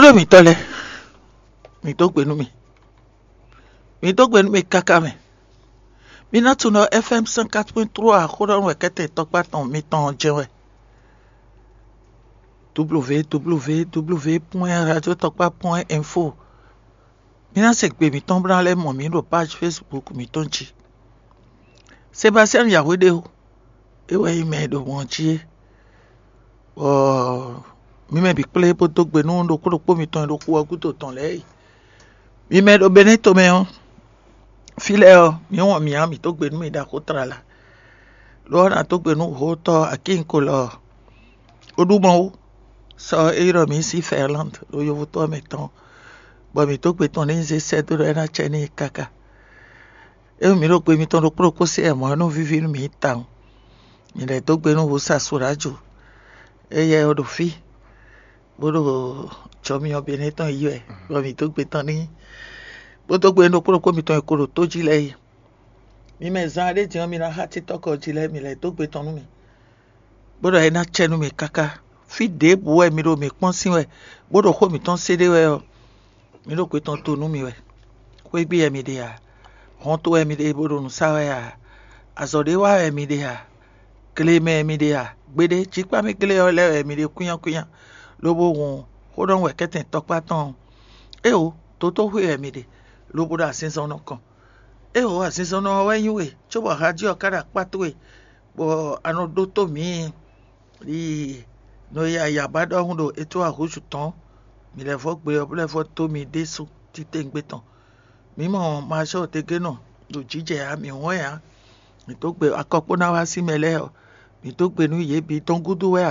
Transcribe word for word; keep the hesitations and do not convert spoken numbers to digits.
Ɖó mǐtɔn lɛ́ɛ, mǐ dó gbe nú mì. Mǐ dó gbe nú mì káká mɛ. Mi ná tunɔ F M cent quatre point trois xó ɖɔ nú wɛ kɛ́tɛn tɔkpá tɔn mitɔn ɔ́ jɛ́n wɛ. W W W point radio tɔkpá point info. Mi ná se gbe mǐtɔn bó ná lɛ́ mɔ mǐ ɖo page Facebook mǐtɔn jí. Sebastian Yahweh ɖe ó, é wɛ nyí mɛ e ɖo mɔ jí é. Bɔ mi mɛ bǐ kplé bó dó gbe nú ɖokpó ɖokpó mitɔn e ɖo xu ɔ́ gúdo tɔn lɛ́ɛ é. Mi mɛ e ɖo Benɛ́to mɛ ɔ́, fí lɛ́ɛ ɔ́, mǐ wɔn mǐ ǎ, mǐ dó gbe nú mi ɖaxó tlala. Lo ɔ́, nǎ dó gbe nú hotɔ Akínkolɔ Oɖumɔwú, sɔ e ylɔ́ mǐ sín Fɛrlande ɖo yovótɔ́ mɛ tɔn, bɔ mǐ dó gbe tɔn n'i zé sɛ́ dó ɖɔ é ná cɛ n'i káká. Ényí mǐ ɖo gbe mitɔn ɖokpó ɖokpó se wɛ mɔ̌, é nɔ víví nú mǐ tawun. Mǐ lɛ́ dó gbe nú Wusa Suráju, éyɛ́ ɔ́ ɖo fí, bó ɖo jɔ myɔ Benɛ́ tɔn yí wɛ, bɔ mǐ dó gbe tɔn n'i, bó dó gbe nú ɖokpó ɖokpó mitɔn e ko ɖo tó jí lɛ́ɛ é. Mi mɛ zán ɖé din ɔ́, mi ná xá títɔ́kɔ jí lɛ́ɛ, mǐ lɛ́ dó gbe tɔn nú mì, bó ɖɔ é ná cɛ nú mì káká. Fí ɖěbǔ wɛ mi ɖo mǐ kpɔ́n sín wɛ, bó ɖo xó mǐtɔn sé ɖé wɛ ɔ́, mǐ ɖo gbe tɔn to nú mi wɛ. Xwégbé wɛ mi ɖe ǎ, hɔnto wɛ mi ɖe bó ɖo nǔ sa wɛ ǎ, azɔ̌ ɖé wa wɛ mi ɖe ǎ, gle mɛ wɛ mi ɖe ǎ, gbeɖé jikpá mɛ glé ɔ́ lɛ́ɛ wɛ mi ɖe kwínnyákwínnyá, lobo hun xó ɖɔ wɛ kɛ́tɛn tɔkpá tɔn ɔ́. Éeǒ, dotóxwé wɛ mi ɖe, lobo ɖo azinzɔnnɔ kɔn. Éeǒ, azinzɔnnɔ ɔ́ wɛ nyí we, cóbɔ Hadi ɔ́ ka ɖo akpá towe, bɔ a nɔ ɖótó mǐ. Yi nɔ yi ayǎbá ɖɔhun ɖo etó ahǔzú tɔn, mǐ lɛ́ vɔ́ gbe ɔ́, bó lɛ́ vɔ́ dó mi ɖésú titewungbe tɔn. Mǐ mɔ Mazɔ́ɔ Degénɔ ɖo jǐjɛ ǎ, mǐ wɔn ɛ ǎ. Mǐ dó gbe akɔkpó ná wá sí mɛ lɛ́ɛ ɔ́, mǐ dó gbe nú yě bǐ tɔn gúdo wɛ